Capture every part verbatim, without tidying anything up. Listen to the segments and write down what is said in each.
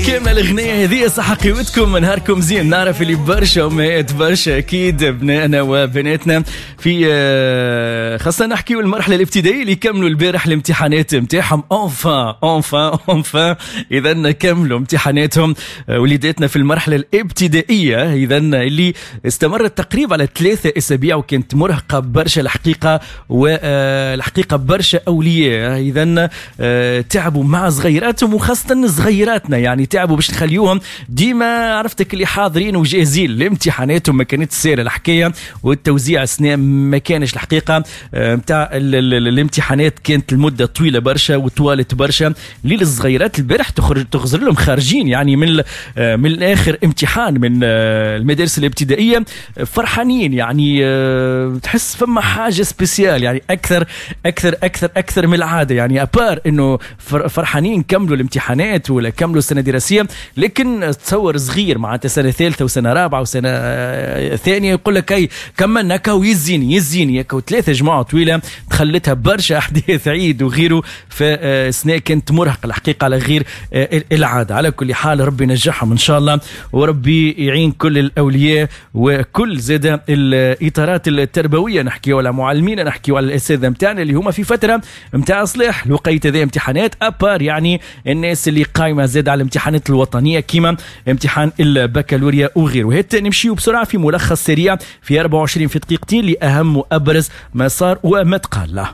كاملة الأغنية هذه صح قيمتكم، نهاركم زين. نعرف اللي برشا أمهات برشا أكيد أبنائنا وبناتنا في خاصة نحكيو المرحلة الابتدائية اللي كملوا البارح الامتحانات نتاعهم enfin enfin enfin إذا كملوا امتحاناتهم وليداتنا في المرحلة الابتدائية، إذا اللي استمرت تقريبا على ثلاثة أسابيع وكانت مرهقة برشا الحقيقة، والحقيقة برشا أولياء إذا تعبوا مع صغيراتهم وخاصة صغيراتنا، يعني تعبوا باش نخليوهم ديما عرفتك اللي حاضرين وجاهزين لامتحاناتهم. ما كانت سهلة الحكاية والتوزيع السنة ما كانش الحقيقة نتاع الامتحانات، كانت المدة طويلة برشا وطوالت برشا للصغيرات. البارح تخرج تخزر لهم خارجين يعني من من الاخر امتحان من المدارس الابتدائية فرحانين، يعني تحس فما حاجة spéciale، يعني اكثر اكثر اكثر اكثر من العادة، يعني à part انه فرحانين كملوا الامتحانات ولا كملوا السنة الدراسية، لكن تصور صغير معناتها سنة ثالثة وسنة رابعه وسنة ثانية يقول لك اي كملنا كاو يزيني يزيني كاو ثلاثة جمعه طويلة دخلتها برشا احداث عيد وغيره، فسنة كانت مرهقة الحقيقة على غير العادة. على كل حال ربي ينجحهم ان شاء الله وربي يعين كل الاولياء وكل زاد الاطارات التربوية، نحكيو على معلمين، نحكيو على الاساتذة نتاعنا اللي هما في فترة نتاع صلاح الوقيت هذا امتحانات à part، يعني الناس اللي قايمة زاد على الامتحانات الوطنية كيما امتحان البكالوريا وغيره. هات نمشيو بسرعة في ملخص سريع في أربعة وعشرين في دقيقتين لاهم وابرز ما صار وما تقال.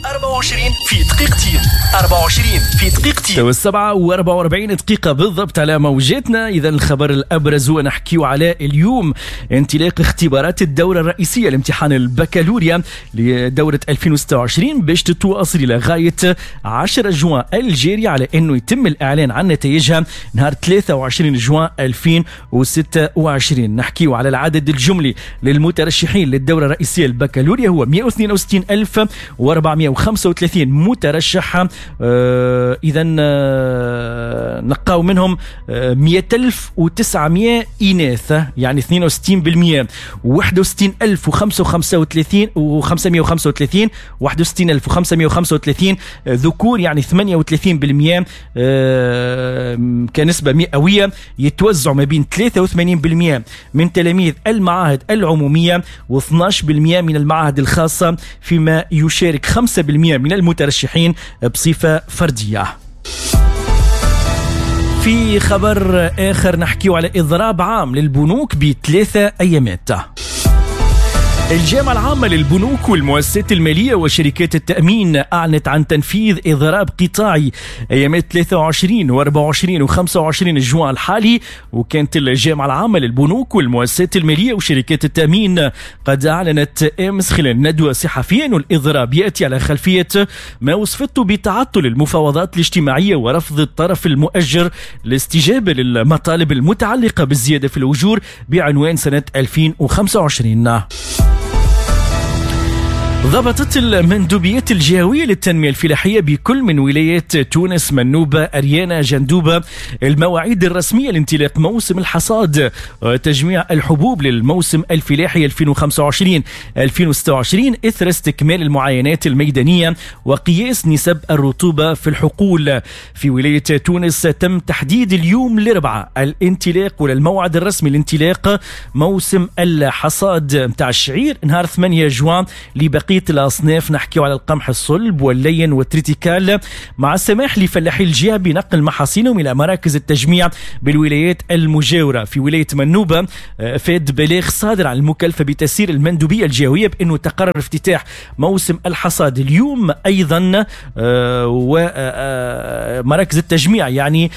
أربعة وعشرين في دقيقتين، أربعة وعشرين في دقيقتين، تو السبعة وأربعة وأربعين دقيقة بالضبط على موجاتنا. إذا الخبر الأبرز هو نحكيو على اليوم انطلاق اختبارات الدورة الرئيسية لامتحان البكالوريا لدورة ألفين وستة وعشرين باش تتواصل إلى غاية عشرة جوان الجاري، على أنه يتم الإعلان عن نتائجها نهار ثلاثة وعشرين جوان ألفين وستة وعشرين. نحكيو على العدد الجملي للمترشحين للدورة الرئيسية البكالوريا هو مئة واثنين وستين ألف وأربعمئة وخمسة وثلاثين مترشح، آه إذا آه نقاو منهم آه مئة ألف وتسعمئة إناث يعني اثنين وستين بالمئة، واحد وستين ألف وخمسة وثلاثين وخمسمئة وخمسة وثلاثين واحد وستين ألف وخمسمئة وخمسة وثلاثين ذكور يعني ثمانية وثلاثين بالمئة آه كنسبة مئوية، يتوزعوا ما بين ثلاثة وثمانين بالمئة من تلاميذ المعاهد العمومية واثناش بالمئة من المعاهد الخاصة، فيما يشارك خمسة بالمئة من المترشحين بصفة فردية. في خبر آخر نحكيه على إضراب عام للبنوك بثلاثة أيامات. الجامعة العامة للبنوك والمؤسسات المالية وشركات التأمين أعلنت عن تنفيذ إضراب قطاعي أيامات ثلاثة وعشرين وأربعة وعشرين وخمسة وعشرين جوان الحالي. وكانت الجامعة العامة للبنوك والمؤسسات المالية وشركات التأمين قد أعلنت أمس خلال ندوة صحفية أن الإضراب يأتي على خلفية ما وصفته بتعطل المفاوضات الاجتماعية ورفض الطرف المؤجر الاستجابة للمطالب المتعلقة بالزيادة في الأجور بعنوان سنة ألفين وخمسة وعشرين. ضبطت المندوبيات الجهوية للتنمية الفلاحية بكل من ولايات تونس، منوبة، أريانا، جندوبة المواعيد الرسمية لانطلاق موسم الحصاد وتجميع الحبوب للموسم الفلاحي ألفين وخمسة وعشرين ألفين وستة وعشرين إثر استكمال المعاينات الميدانية وقياس نسب الرطوبة في الحقول. في ولاية تونس تم تحديد اليوم الأربعاء الانطلاق ولا الموعد الرسمي لانطلاق موسم الحصاد متاع الشعير نهار ثمانية جوان لبقية الأصناف، نحكيو على القمح الصلب واللين والتريتيكال، مع السماح لفلاحي الجهة بنقل محاصيلهم إلى مراكز التجميع بالولايات المجاورة. في ولاية منوبة فاد بلاغ صادر عن المكلفة بتسيير المندوبية الجهوية بأنه تقرر افتتاح موسم الحصاد اليوم أيضا ومراكز التجميع يعني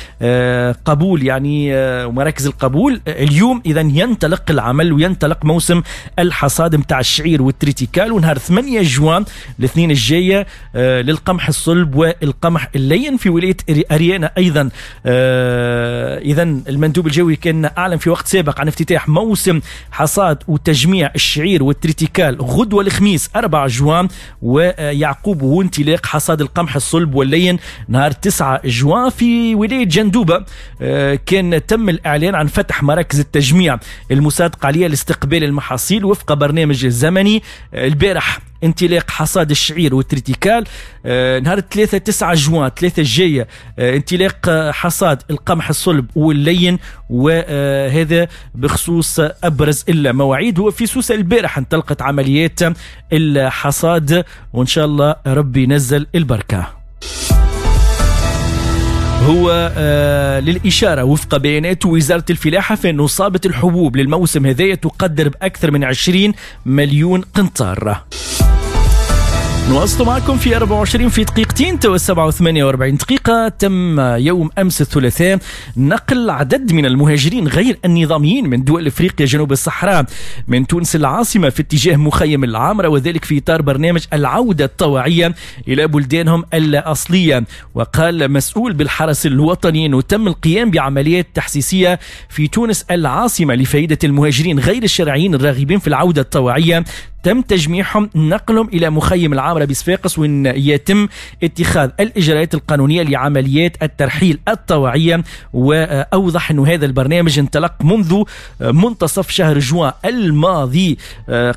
قبول يعني ومراكز القبول اليوم. إذا ينطلق العمل وينطلق موسم الحصاد متاع الشعير والتريتيكال، ونهار ثمانية جوان الاثنين الجاية للقمح الصلب والقمح اللين. في ولاية أريانا أيضا إذا المندوب الجوي كان أعلن في وقت سابق عن افتتاح موسم حصاد وتجميع الشعير والتريتيكال غدوة الخميس أربعة جوان، ويعقوبه انطلاق حصاد القمح الصلب واللين نهار تسعة جوان. في ولاية جندوبة كان تم الإعلان عن فتح مراكز التجميع المصادقة عليها لاستقبال المحاصيل وفق برنامج زمني. البارح انطلاق حصاد الشعير والتريتيكال، آه نهار ثلاثة تسعة جوان ثلاثة الجاية آه انطلاق حصاد القمح الصلب واللين، وهذا بخصوص أبرز المواعيد. وفي سوسة البارح انطلقت عمليات الحصاد، وإن شاء الله ربي ينزل البركة. هو آه للإشارة وفق بيانات وزارة الفلاحة فإن إصابة الحبوب للموسم هذا تقدر بأكثر من عشرين مليون قنطار. نواصل معكم في أربعة وعشرين في دقيقتين، تو سبعة وثمانية وأربعين دقيقة. تم يوم أمس الثلاثاء نقل عدد من المهاجرين غير النظاميين من دول إفريقيا جنوب الصحراء من تونس العاصمة في اتجاه مخيم العامرة، وذلك في إطار برنامج العودة الطوعية إلى بلدانهم الأصلية. وقال مسؤول بالحرس الوطني أنه تم القيام بعمليات تحسيسية في تونس العاصمة لفائدة المهاجرين غير الشرعيين الراغبين في العودة الطوعية، تم تجميعهم نقلهم إلى مخيم العامرة بصفاقس، وإن يتم اتخاذ الإجراءات القانونية لعمليات الترحيل الطوعية. وأوضح أن هذا البرنامج انطلق منذ منتصف شهر جوان الماضي،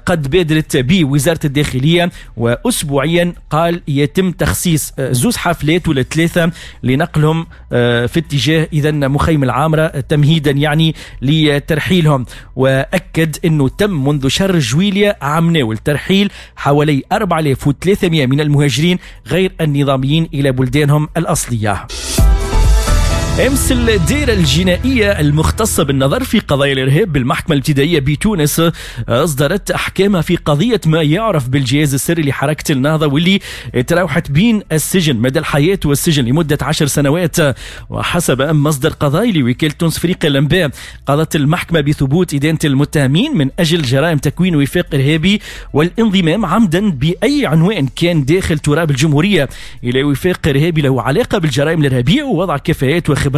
قد بادرت به وزارة الداخلية، وأسبوعيا قال يتم تخصيص زوز حفلات ولا ثلاثة لنقلهم في اتجاه إذن مخيم العامرة تمهيدا يعني لترحيلهم. وأكد أنه تم منذ شهر جويلية عام والترحيل حوالي أربعة آلاف وثلاثمئة من المهاجرين غير النظاميين إلى بلدانهم الأصلية. أمس الدائرة الجنائية المختصة بالنظر في قضايا الإرهاب بالمحكمة الابتدائية بتونس أصدرت أحكامها في قضية ما يعرف بالجهاز السري لحركة النهضة، واللي تراوحت بين السجن مدى الحياة والسجن لمدة عشر سنوات. وحسب مصدر قضائي لوكالة تونس افريقيا الأنباء، قضت المحكمة بثبوت إدانة المتهمين من أجل جرائم تكوين وفاق إرهابي والانضمام عمدا بأي عنوان كان داخل تراب الجمهورية إلى وفاق إرهابي له علاقة بالجرائم الإرهابية، ووضع كفاءات وخبرات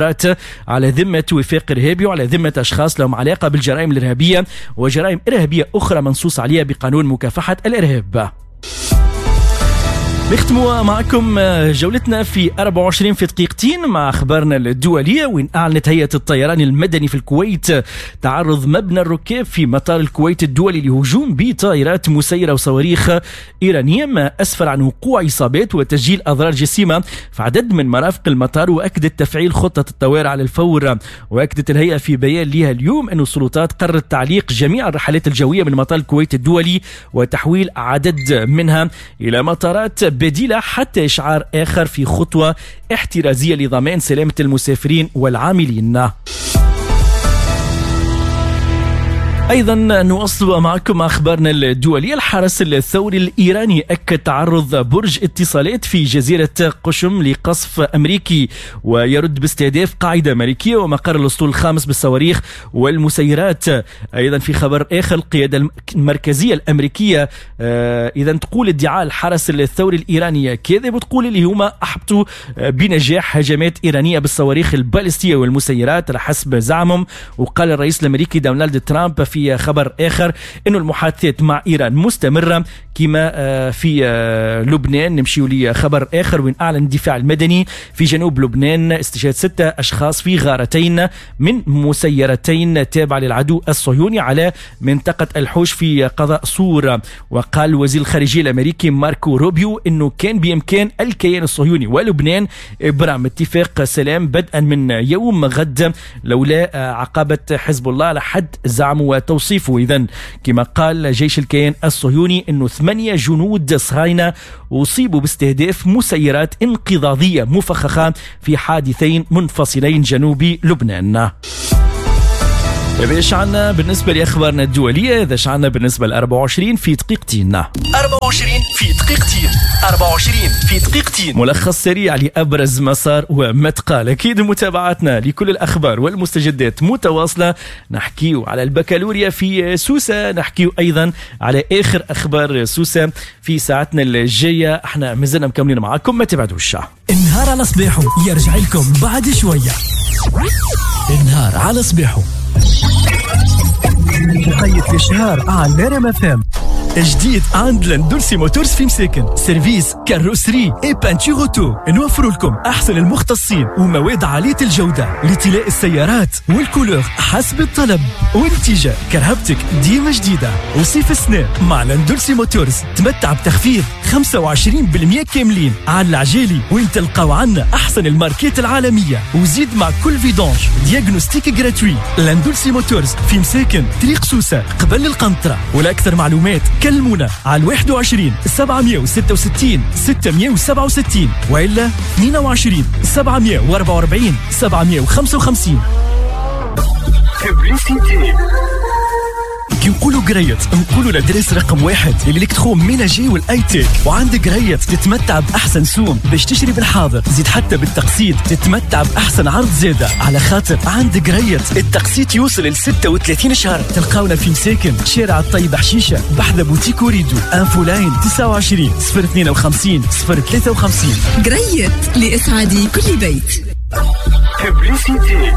على ذمة وفاق إرهابي وعلى ذمة أشخاص لهم علاقة بالجرائم الإرهابية وجرائم إرهابية أخرى منصوص عليها بقانون مكافحة الإرهاب. نختم معكم جولتنا في أربعة وعشرين في دقيقتين مع أخبارنا الدولية، وإن أعلنت هيئة الطيران المدني في الكويت تعرض مبنى الركاب في مطار الكويت الدولي لهجوم بطائرات مسيرة وصواريخ إيرانية، ما أسفر عن وقوع إصابات وتسجيل أضرار جسيمة في عدد من مرافق المطار. وأكدت تفعيل خطة الطوارئ على الفور. وأكدت الهيئة في بيان لها اليوم أن السلطات قررت تعليق جميع الرحلات الجوية من مطار الكويت الدولي وتحويل عدد منها إلى مطارات بديلة حتى إشعار آخر في خطوة احترازية لضمان سلامة المسافرين والعاملين. أيضا نواصل معكم أخبارنا الدولية. الحرس الثوري الإيراني أكد تعرض برج اتصالات في جزيرة قشم لقصف أمريكي، ويرد باستهداف قاعدة أمريكية ومقر الأسطول الخامس بالصواريخ والمسيرات. أيضا في خبر آخر، القيادة المركزية الأمريكية إذا تقول ادعاء الحرس الثوري الإيراني كاذب، وتقول اللي هما أحبطوا بنجاح هجمات إيرانية بالصواريخ البالستية والمسيرات على حسب زعمهم. وقال الرئيس الأمريكي دونالد ترامب في خبر آخر أنه المحادثات مع إيران مستمرة كما في لبنان. نمشي لخبر آخر، وإن أعلن الدفاع المدني في جنوب لبنان استشهاد ستة أشخاص في غارتين من مسيرتين تابعة للعدو الصهيوني على منطقة الحوش في قضاء صور. وقال وزير الخارجية الأمريكي ماركو روبيو أنه كان بإمكان الكيان الصهيوني ولبنان إبرام اتفاق سلام بدءا من يوم غد لولا عقبة حزب الله على حد زعمه وتوصيفه. إذن كما قال جيش الكيان الصهيوني أنه ثمانية جنود صهاينة أصيبوا باستهداف مسيرات انقضاضية مفخخة في حادثين منفصلين جنوب لبنان. هذا ايش عنا بالنسبة لأخبارنا الدولية، هذا ايش عنا بالنسبة ل أربعة وعشرين في دقيقتين. أربعة وعشرين في دقيقتين، أربعة وعشرين في دقيقتين، ملخص سريع لأبرز مسار وما تقال. أكيد متابعتنا لكل الأخبار والمستجدات متواصلة. نحكيو على البكالوريا في سوسة، نحكيو أيضا على آخر أخبار سوسة في ساعتنا الجاية. احنا مازلنا مكملين معاكم، ما تبعدوش. النهار على صباحه يرجع لكم بعد شوية. النهار على صباحه مقيد الشهر على نرم اف ام. جديد عند لندولسي Motors في مساكن، service carrosserie et peinture auto. نوفر لكم احسن المختصين ومواد عالية الجودة لطلاء السيارات وال couleur حسب الطلب، ونتيجة كرهبتك ديما جديدة. وصيف السنة مع لندولسي Motors تمتع بتخفيض خمسة وعشرين بالمية كاملين على العجالي، وين تلقاو عنا احسن الماركات العالميه، وزيد مع كل vidange diagnostic gratuit. لندولسي Motors في مساكن، طريق سوسة قبل القنطره. ولاكثر معلومات كلمونا على واحد وعشرين سبعمية وستة وستين ستمية وسبعة وستين والا اثنين وعشرين سبعمية وأربعة وأربعين سبعمية وخمسة وخمسين. Publicité. كي نقولوا قريت نقولوا l'adresse رقم واحد l'électroménager وال high-tech. وعند قريت تتمتع باحسن سوم باش تشري بالحاضر، زيد حتى بالتقسيط تتمتع باحسن عرض زاده، على خاطر عند قريت التقسيط يوصل ل ستة وثلاثين شهر. تلقاونا في مساكن، شارع الطيب حشيشه، بحذا بوتيك وريدو. infoline تسعة وعشرين صفر اثنين وخمسين صفر ثلاثة وخمسين. قريت لإسعاد كل بيت. Publicité.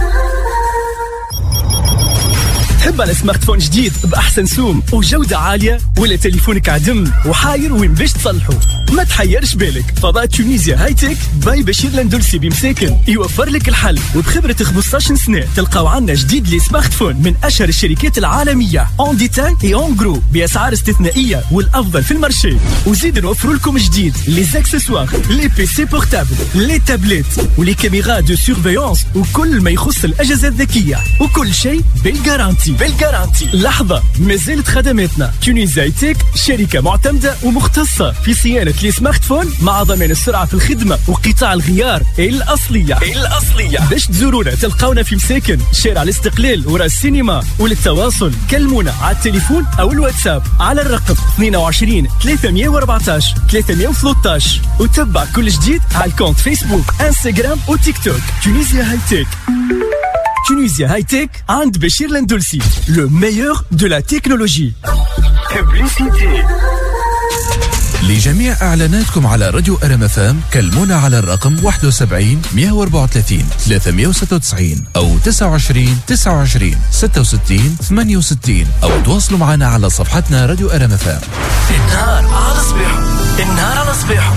تحب على smartphone جديد باحسن سوم وجوده عاليه، ولا تليفونك عدم وحاير وين باش تصلحه؟ ما تحيرش بالك، فضاء Tunisia High-Tech by بشير لندلسي بمساكن يوفر لك الحل. وبخبره خمسطاش سنة تلقاو عنا جديد les smartphones من اشهر الشركات العالمية en détail et en gros باسعار استثنائية والافضل في ال marché. وزيد نوفر لكم جديد les accessoires، les PC portables، les tablettes و les caméras de surveillance وكل ما يخص الاجهزة الذكيه، وكل شيء بال garantie بال garantie. لحظه، ما زالت خدماتنا. Tunisia High-Tech شركة معتمدة ومختصه في صيانة les smartphones مع ضمان السرعة في الخدمة وقطاع الغيار الاصلية الاصليه. باش تزورونا تلقاونا في مساكن، شارع الاستقلال وراء السينما. وللتواصل كلمونا على التليفون او الواتساب على الرقم اثنين وعشرين ثلاثمية وأربعطاش ثلاثمية وثلاثطاش، وتبع كل جديد على ال compte فيسبوك، انستغرام وتيك توك Tunisia High-Tech. Tunisia High-Tech عند بشير لندلسي، le meilleur de la technologie. Publicité. لجميع اعلاناتكم على راديو ار ام اف ام كلمونا على الرقم واحد وسبعين مية وأربعة وثلاثين ثلاثمية وستة وتسعين او تسعة وعشرين تسعة وعشرين ستة وستين ثمانية وستين، او تواصلوا معنا على صفحتنا راديو ار ام اف ام. النهار على صباحه، النهار على صباحه.